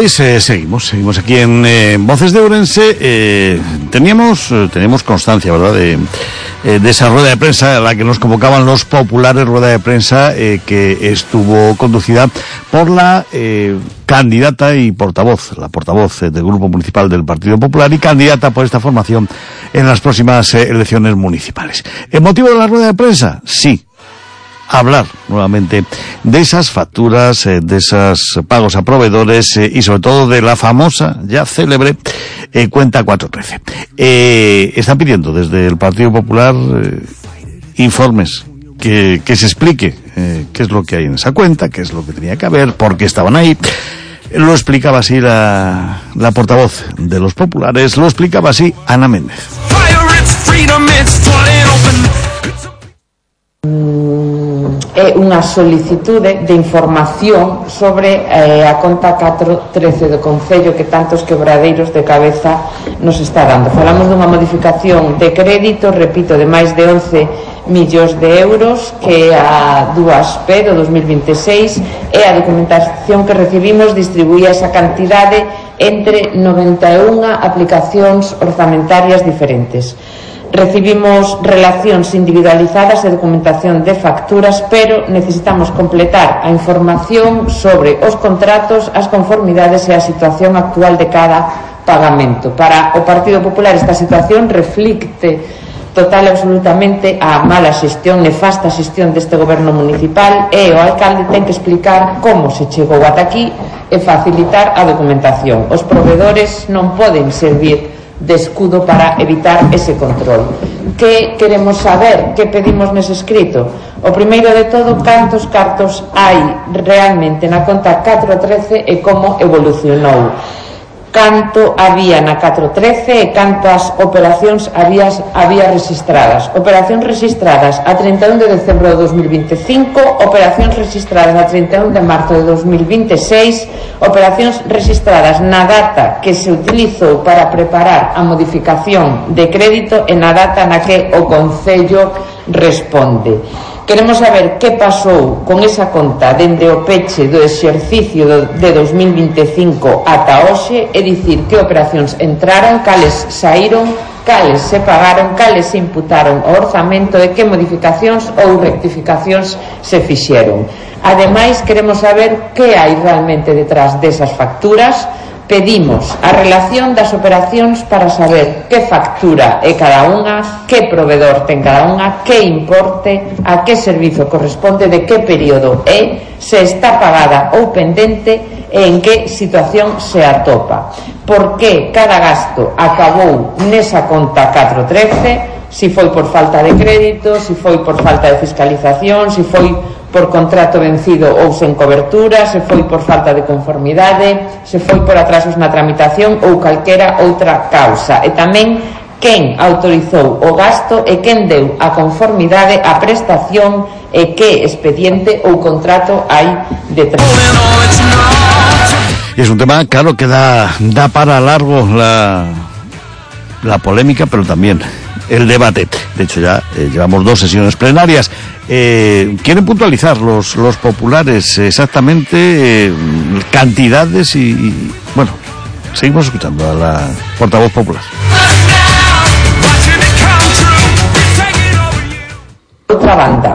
Seguimos aquí en Voces de Ourense. Teníamos constancia, ¿verdad?, de esa rueda de prensa a la que nos convocaban los populares, rueda de prensa que estuvo conducida por la candidata y la portavoz del Grupo Municipal del Partido Popular y candidata por esta formación en las próximas elecciones municipales. ¿El motivo de la rueda de prensa? Sí. Hablar nuevamente de esas facturas, de esos pagos a proveedores y sobre todo de la famosa, ya célebre, cuenta 413. Están pidiendo desde el Partido Popular informes que se explique qué es lo que hay en esa cuenta, qué es lo que tenía que haber, por qué estaban ahí. Lo explicaba así la portavoz de los populares, lo explicaba así Ana Méndez. É unha solicitude de información sobre a conta 413 do Concello que tantos quebradeiros de cabeza nos está dando. Falamos dunha modificación de crédito, repito, de máis de 11 millóns de euros, que a 2P do 2026 é a documentación que recibimos distribuía esa cantidade entre 91 aplicacións orzamentarias diferentes. Recibimos relacións individualizadas e documentación de facturas, pero necesitamos completar a información sobre os contratos, as conformidades e a situación actual de cada pagamento. Para o Partido Popular esta situación reflicte total e absolutamente a mala xestión, nefasta xestión deste goberno municipal, e o alcalde ten que explicar como se chegou ata aquí e facilitar a documentación. Os proveedores non poden servir de escudo para evitar ese control. Que queremos saber? Que pedimos nese escrito? O primeiro de todo, cantos cartos hai realmente na conta 413 e como evolucionou. Canto había na 413 e cantas operacións había registradas. Operacións registradas a 31 de decembro de 2025, operacións registradas a 31 de marzo de 2026, operacións registradas na data que se utilizou para preparar a modificación de crédito e na data na que o Concello responde. Queremos saber que pasou con esa conta dende o peche do exercicio de 2025 ata hoxe, é dicir, que operacións entraron, cales saíron, cales se pagaron, cales se imputaron ao orzamento e que modificacións ou rectificacións se fixeron. Ademais, queremos saber que hai realmente detrás desas facturas. Pedimos a relación das operacións para saber que factura é cada unha, que proveedor ten cada unha, que importe, a que servizo corresponde, de que período é, se está pagada ou pendente e en que situación se atopa. Por que cada gasto acabou nesa conta 413, si foi por falta de crédito, si foi por falta de fiscalización, si foi por contrato vencido ou sen cobertura, se foi por falta de conformidade, se foi por atrasos na tramitación ou calquera outra causa. E tamén quen autorizou o gasto e quen deu a conformidade, a prestación e que expediente ou contrato hai detrás. Y es un tema, claro, que da para largo la polémica, pero también el debate. De hecho, ya llevamos 2 sesiones plenarias. Quieren puntualizar los populares exactamente cantidades y bueno, seguimos escuchando a la portavoz popular. Outra banda,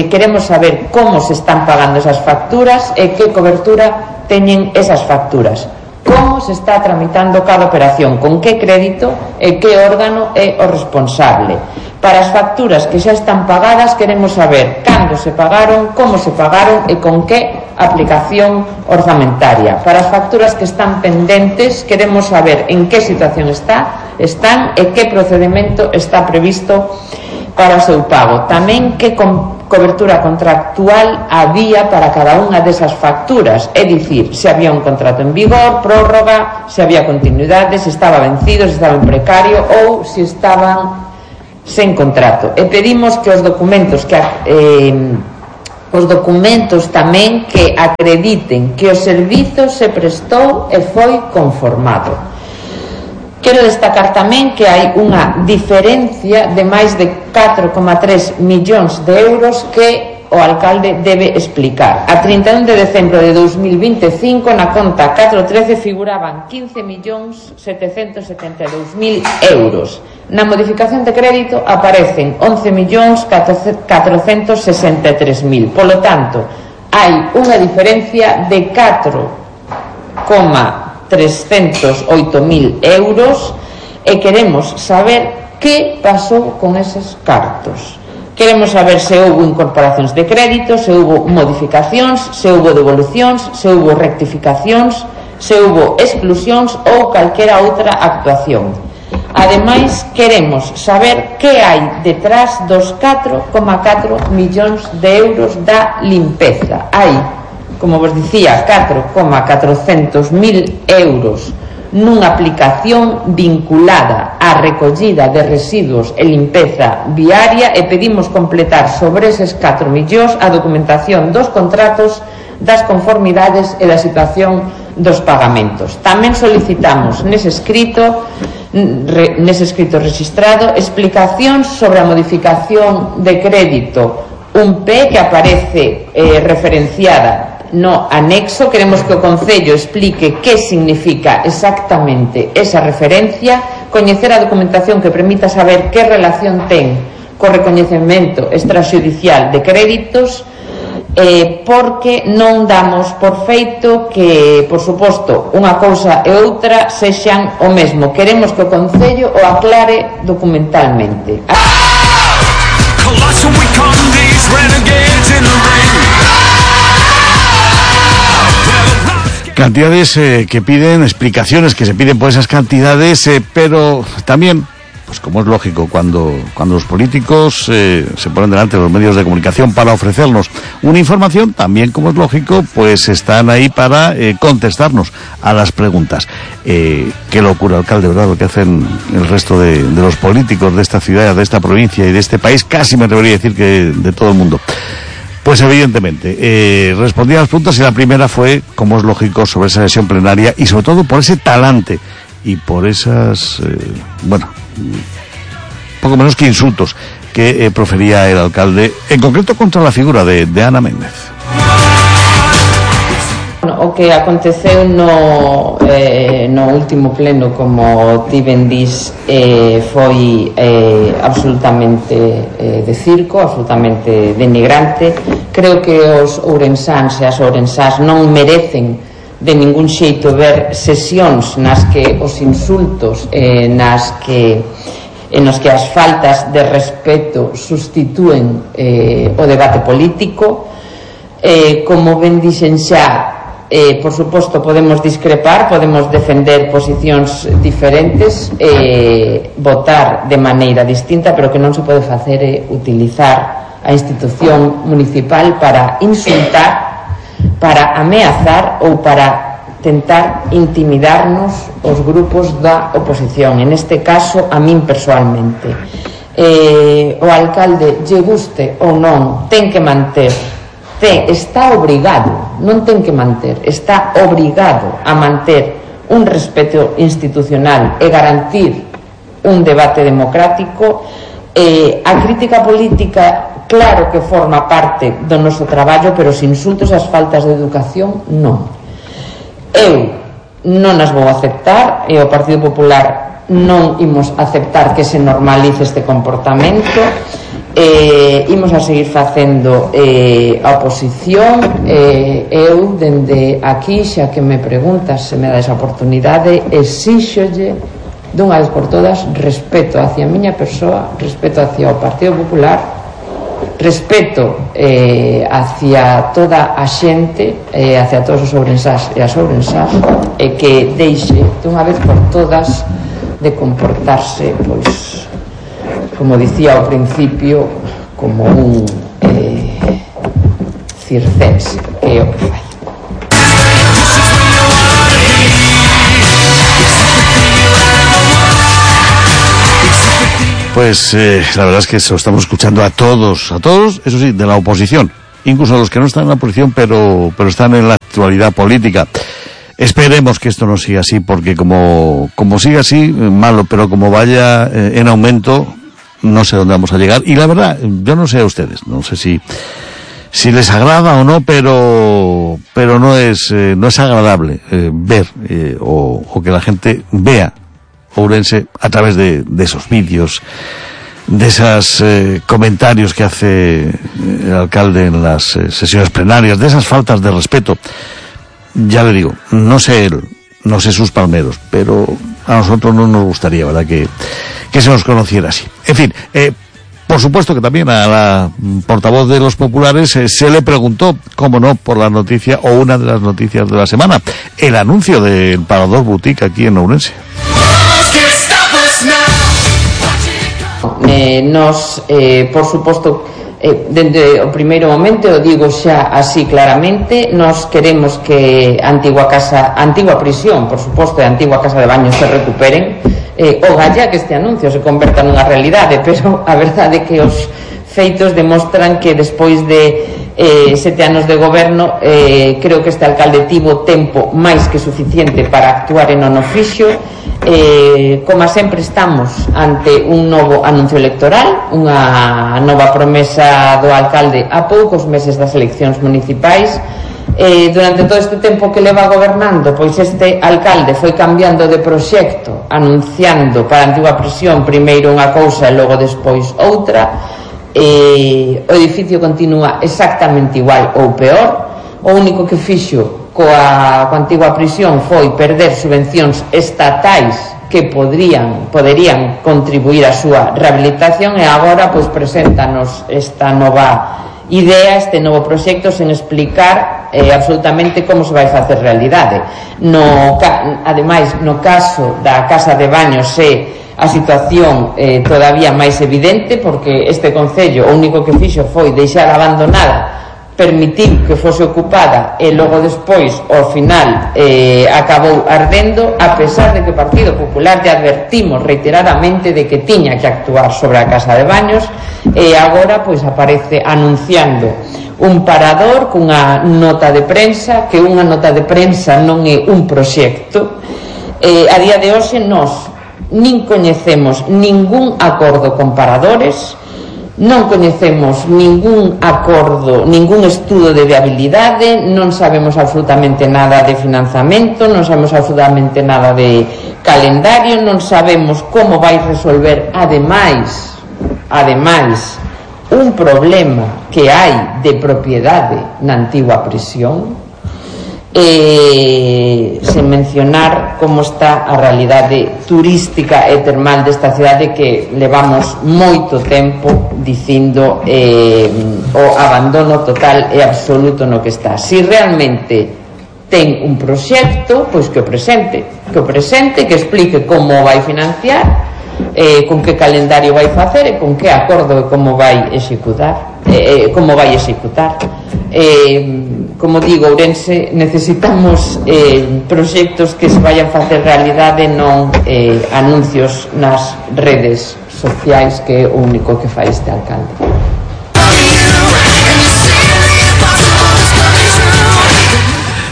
queremos saber como se están pagando esas facturas e que cobertura teñen esas facturas. Como se está tramitando cada operación, con que crédito e que órgano é o responsable. Para as facturas que xa están pagadas queremos saber cando se pagaron, como se pagaron e con que aplicación orzamentaria. Para as facturas que están pendentes queremos saber en que situación están e que procedimento está previsto para o seu pago. Tamén que cobertura contractual había para cada unha desas facturas, é dicir, se había un contrato en vigor, prórroga, se había continuidade, se estaba vencido, se estaba en precario ou se estaban sen contrato. E pedimos que os documentos tamén que acrediten que o servizo se prestou e foi conformado. Quero destacar tamén que hai unha diferencia de máis de 4,3 millóns de euros que o alcalde debe explicar. A 31 de decembro de 2025 na conta 413 figuraban 15.772.000 euros. Na modificación de crédito aparecen 11.463.000. Polo tanto, hai unha diferencia de 4,308.000 euros e queremos saber que pasou con eses cartos. Queremos saber se houbo incorporacións de crédito, se houbo modificacións, se houbo devolucións, se houbo rectificacións, se houbo exclusións ou calquera outra actuación. Ademais, queremos saber que hai detrás dos 4,4 millóns de euros da limpeza. Hai, como vos dicía, 4,400.000 euros nunha aplicación vinculada á recollida de residuos e limpeza viaria e pedimos completar sobre eses 4 millóns a documentación dos contratos, das conformidades e da situación dos pagamentos. Tamén solicitamos nese escrito registrado explicacións sobre a modificación de crédito 1P que aparece referenciada no anexo. Queremos que o Concello explique que significa exactamente esa referencia, coñecer a documentación que permita saber que relación ten co recoñecemento extrajudicial de créditos, porque non damos por feito que, por suposto, unha cousa e outra sexan o mesmo. Queremos que o Concello o aclare documentalmente. Cantidades que piden, explicaciones que se piden por esas cantidades, pero también, pues como es lógico, cuando los políticos se ponen delante de los medios de comunicación para ofrecernos una información, también, como es lógico, pues están ahí para contestarnos a las preguntas. Qué locura, alcalde, ¿verdad? Lo que hacen el resto de los políticos de esta ciudad, de esta provincia y de este país, casi me atrevería a decir que de todo el mundo. Pues evidentemente, respondí a las preguntas y la primera fue, como es lógico, sobre esa sesión plenaria y sobre todo por ese talante y por esas, poco menos que insultos que profería el alcalde, en concreto contra la figura de Ana Méndez. O que aconteceu no último pleno, como ti ben dis, foi absolutamente de circo, absolutamente denigrante. Creo que os ourensáns e as ourensás non merecen de ningún xeito ver sesións nas que os insultos nas que as faltas de respeto sustitúen o debate político. Como ben dixen xa, por suposto podemos discrepar, podemos defender posicións diferentes, votar de maneira distinta, pero que non se pode facer é utilizar a institución municipal para insultar, para ameazar ou para tentar intimidarnos os grupos da oposición, en este caso a min persoalmente. O alcalde, lle guste ou non, ten que manter, está obrigado, non ten que manter, está obrigado a manter un respeto institucional e garantir un debate democrático. A crítica política, claro que forma parte do noso traballo, pero os insultos e as faltas de educación non. Eu non as vou aceptar e o Partido Popular non imos aceptar que se normalice este comportamento. Imos a seguir facendo a oposición. Eu dende aquí, xa que me preguntas, se me dá esa oportunidade, exíxolle dunha vez por todas respeto hacia a miña persoa, respeto hacia o Partido Popular, respeto hacia toda a xente, hacia todos os ourensás e as ourensás, e que deixe dunha vez por todas de comportarse, pois, como dicía ao principio, como un circense, que é o que fai. Pues la verdad es que se lo estamos escuchando a todos, eso sí, de la oposición, incluso a los que no están en la oposición, pero están en la actualidad política. Esperemos que esto no siga así, porque como siga así, malo, pero como vaya en aumento, no sé dónde vamos a llegar. Y la verdad, yo no sé a ustedes, no sé si si les agrada o no, pero no es agradable ver o que la gente vea Ourense a través de esos vídeos, de esos comentarios que hace el alcalde en las sesiones plenarias, de esas faltas de respeto. Ya le digo, no sé él, no sé sus palmeros, pero a nosotros no nos gustaría, ¿verdad?, que se nos conociera así. En fin, por supuesto que también a la portavoz de los populares se le preguntó, cómo no, por la noticia o una de las noticias de la semana, el anuncio del Parador Boutique aquí en Ourense. Por suposto, dende o primeiro momento, o digo xa así claramente, nos queremos que a antigua prisión, por suposto, e a antigua casa de baños se recuperen, o galla que este anuncio se converta nunha realidade, pero a verdade é que os feitos demostran que despois de 7 anos de goberno, creo que este alcalde tivo tempo máis que suficiente para actuar en non fixo. Como sempre, estamos ante un novo anuncio electoral, unha nova promesa do alcalde a poucos meses das eleccións municipais. Durante todo este tempo que leva gobernando, pois este alcalde foi cambiando de proxecto, anunciando para a antigua prisión primeiro unha cousa e logo despois outra. O edificio continúa exactamente igual ou peor. O único que fixo coa antigua prisión foi perder subvencións estatais que poderían contribuir á súa rehabilitación, e agora pois preséntanos esta nova idea, este novo proxecto, sen explicar absolutamente como se vai facer realidade. Ademais, no caso da casa de baños a situación todavía máis evidente, porque este concello o único que fixo foi deixar abandonada, permitiu que fose ocupada e logo despois, ao final, acabou ardendo, a pesar de que o Partido Popular te advertimos reiteradamente de que tiña que actuar sobre a casa de baños, e agora pois aparece anunciando un parador cunha nota de prensa, que unha nota de prensa non é un proxecto. A día de hoxe nós nin coñecemos ningún acordo con paradores, non coñecemos ningún acordo, ningún estudo de viabilidade, non sabemos absolutamente nada de financiamento, non sabemos absolutamente nada de calendario, non sabemos como vai resolver ademais un problema que hai de propiedade na antigua prisión, sen mencionar como está a realidade turística e termal desta cidade, que levamos moito tempo dicindo o abandono total e absoluto no que está. Si realmente ten un proxecto, pois que o presente, que explique como vai financiar, con que calendario vai facer e con que acordo e como vai executar. Como digo, Ourense, necesitamos proxectos que se vayan facer realidade, non anuncios nas redes sociais, que é o único que fai este alcalde.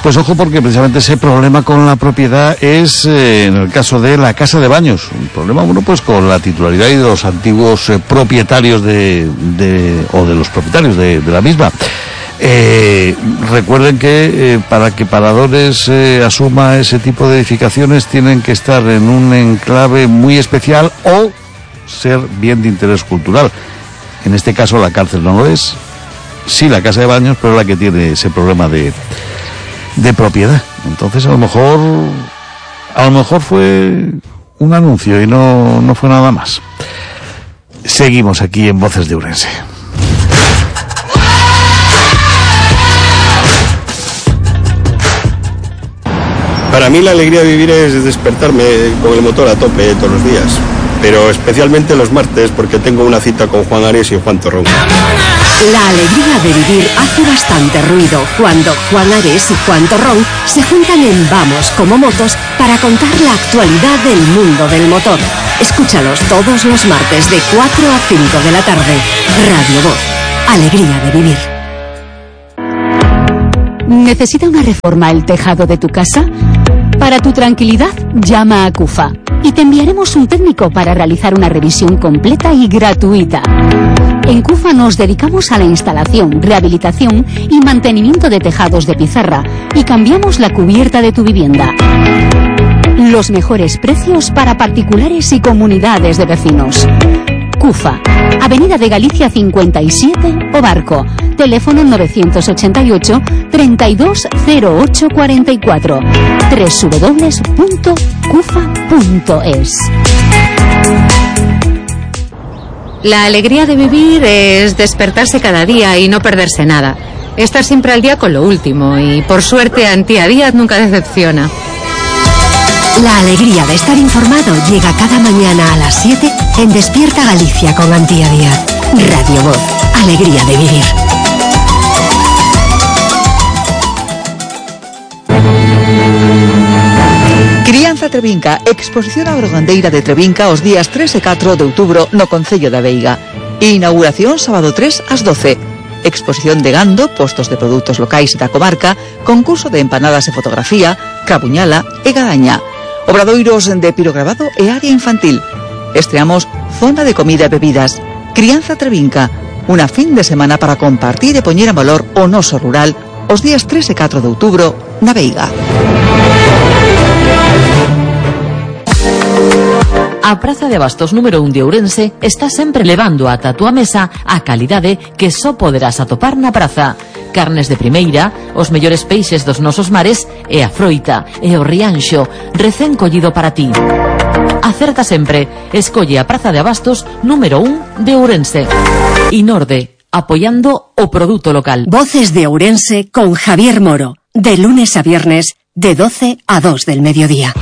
Pues ojo, porque precisamente ese problema con la propiedad es, en el caso de la casa de baños, un problema, bueno, pues con la titularidad y de los antiguos propietarios o de los propietarios de la misma. Recuerden que para que Paradores asuma ese tipo de edificaciones tienen que estar en un enclave muy especial o ser bien de interés cultural. En este caso la cárcel no lo es, sí la casa de baños, pero la que tiene ese problema de propiedad. Entonces a lo mejor fue un anuncio y no fue nada más. Seguimos aquí en Voces de Ourense. Para mí la alegría de vivir es despertarme con el motor a tope todos los días, pero especialmente los martes, porque tengo una cita con Juan Ares y Juan Torrón. La alegría de vivir hace bastante ruido cuando Juan Ares y Juan Torrón se juntan en Vamos como Motos para contar la actualidad del mundo del motor. Escúchalos todos los martes de 4 a 5 de la tarde. Radio Voz. Alegría de vivir. ¿Necesita una reforma el tejado de tu casa? Para tu tranquilidad, llama a CUFA y te enviaremos un técnico para realizar una revisión completa y gratuita. En CUFA nos dedicamos a la instalación, rehabilitación y mantenimiento de tejados de pizarra y cambiamos la cubierta de tu vivienda. Los mejores precios para particulares y comunidades de vecinos. CUFA, Avenida de Galicia 57 o Barco, teléfono 988 320844, www.cufa.es. La alegría de vivir es despertarse cada día y no perderse nada. Estar siempre al día con lo último y, por suerte, Antía Díaz nunca decepciona. La alegría de estar informado llega cada mañana a las 7 en Despierta Galicia con Antía Díaz. Radio Voz, alegría de vivir. Crianza Trevinca, exposición agrogandeira de Trevinca os días 3 e 4 de outubro no Concello da Veiga. Inauguración sábado 3 ás 12. Exposición de gando, postos de produtos locais da comarca, concurso de empanadas e fotografía, cabuñala e gadaña. Obradoiros de pirograbado e área infantil. Estreamos zona de comida e bebidas. Crianza Trevinca, unha fin de semana para compartir e poñer en valor o noso rural os días 3 e 4 de outubro na Veiga. A Praza de Abastos número 1 de Ourense está sempre levando ata a túa mesa a calidade que só poderás atopar na praza. Carnes de primeira, os mellores peixes dos nosos mares e a froita e o rianxo recén collido para ti. Acerta sempre, escolle a Praza de Abastos número 1 de Ourense. Inorde, apoiando o produto local. Voces de Ourense con Javier Moro, de lunes a viernes, de 12 a 2 del mediodía.